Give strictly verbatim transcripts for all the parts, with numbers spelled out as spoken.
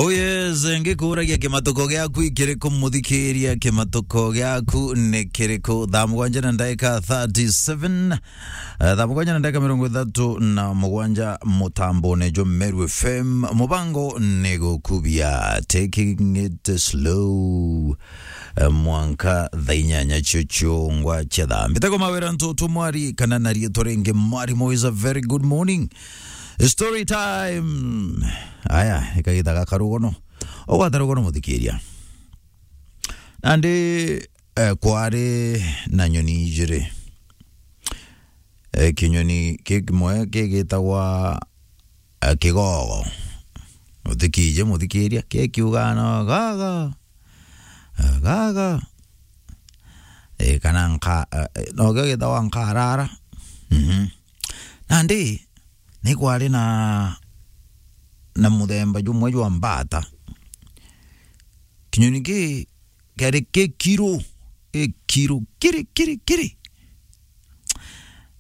Oh yes, ngikuragia kimatuko giaku ikiriku, muthikiria, kimatuko giaku ni kiriku? Thaa mugwanja na ndagika thirty-seven. Eh, thaa mugwanja na ndagika mirongo ithatu na mugwanja mutambone jwa Meru F M. Mubango ni gukubia, taking it slow. Eh, mwanka thaa inyanya cio ciongwa cia thaa. Mbitagwo Mawira Ntutu Mwari, kana na riitwa ringi Mwarimu is a very good morning. Story time. Aya, ikagita gaka rugono. Ugwata rugono, muthikiria. Nandi, eh, kwari na nyoni ijiri. Eh, kinyoni ki kimwe kigitagwa, eh, kigogo. Uthikije, muthikiria, kikiuga no gaga, eh, gaga. Eh, kana nka-, eh, no kio gitagwa nkarara. Mhm. Nandi, ni kwari na, na muthemba jumwe jwa mbata. Kinyoni ki kiari kikiru, kikiru, kiri, kiri, kiri.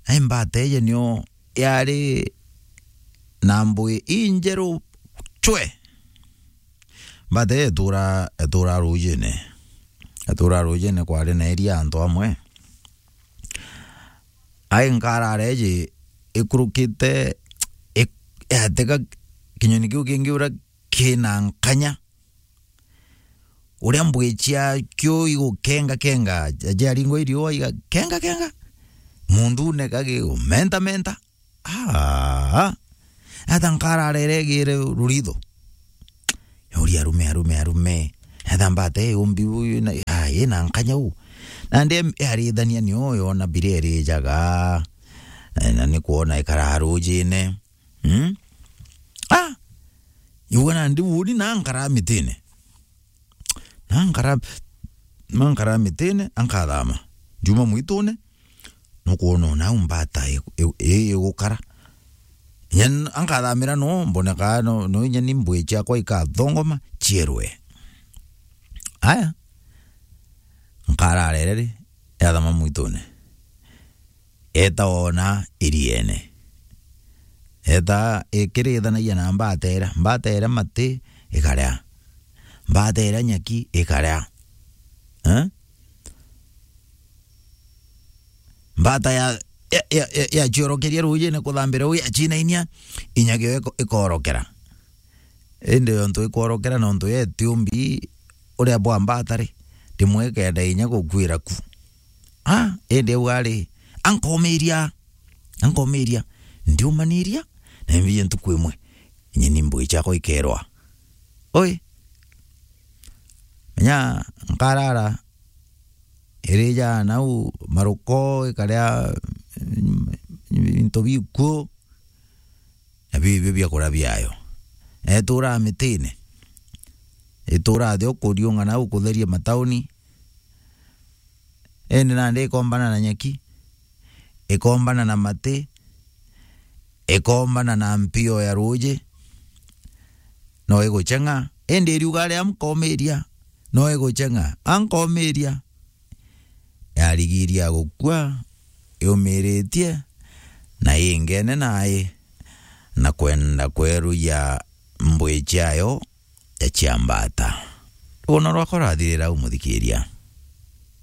Na imbata iji nio yari na mbui injeru cwe. Mbata iji itura, itura rujine. Itura rujine kwari na iria antu amwe. Ai nkarara iji ikurukite, ik-, yatega kinyoni kiu kingi uria kina nkanya. Uria mbui ciakio igukenga kenga, ja-, jaringwa iriua igakenga kenga. Mundune kagi menta menta. Ah. Ata nkarara iregire ruritho. Yauria arume, arume, arume. Etha mbata ii umbi uyu na, ah, ina nkanya u. Nandi em-, yarithania nio yona biria irijaga. Eh, na ni kwona ikara rujine. Mm? Ah! Yauga nandi uni na nkara mitine. Na nkara, na nkara mitine, ankathama. Ndiuma mwitune, nukwona ona au mbata i-, i-, i-, igukara. Inya n-, ankathamira no, mboneka no, no inya ni mbui ciakwa ikathongoma, cierwe. Aya. Nkarara ireri, yathama mwitune. Eta ona iriene. Eta ikirithanagia na mbata iria. Mbata iria mati ikaria. Mbata iria nyaki ikaria. Eh? Mbata ya, ya, ya, ya, yaciorokeria rujine kuthambira u yacinainia, inyagio iko-, ikorokera. Indi yontu ikworokera nontu yeti umbi uria bwa mbata ri, rimwe ikenda inya gukuira ku. Ah, indi au ari, ankomiria, ankomiria, ndiumaniria, na imbiji ntuku imwe, inya ni mbui ciakwa ikerwa. Oi, menya nkarara, irija nau maruko, ikaria, mm, into bikuo, na biu ibio biakuria biayo. Na ituraa mitine, ituraa thi ukuriunga nau kutheria matauni, indi nandi ikombana na nyaki, ikombana na mati, ikombana na mpio ya ruuji, no igucheng'a, indi iriuga aria nkomiria, no igucheng'a, ankomiria. Yarigiria gukua, yumiritie, na ingene nai, na kwenda kweruya mbui ciayo ya cia mbata. Rugono rwakwa rwathirira u, muthikiria.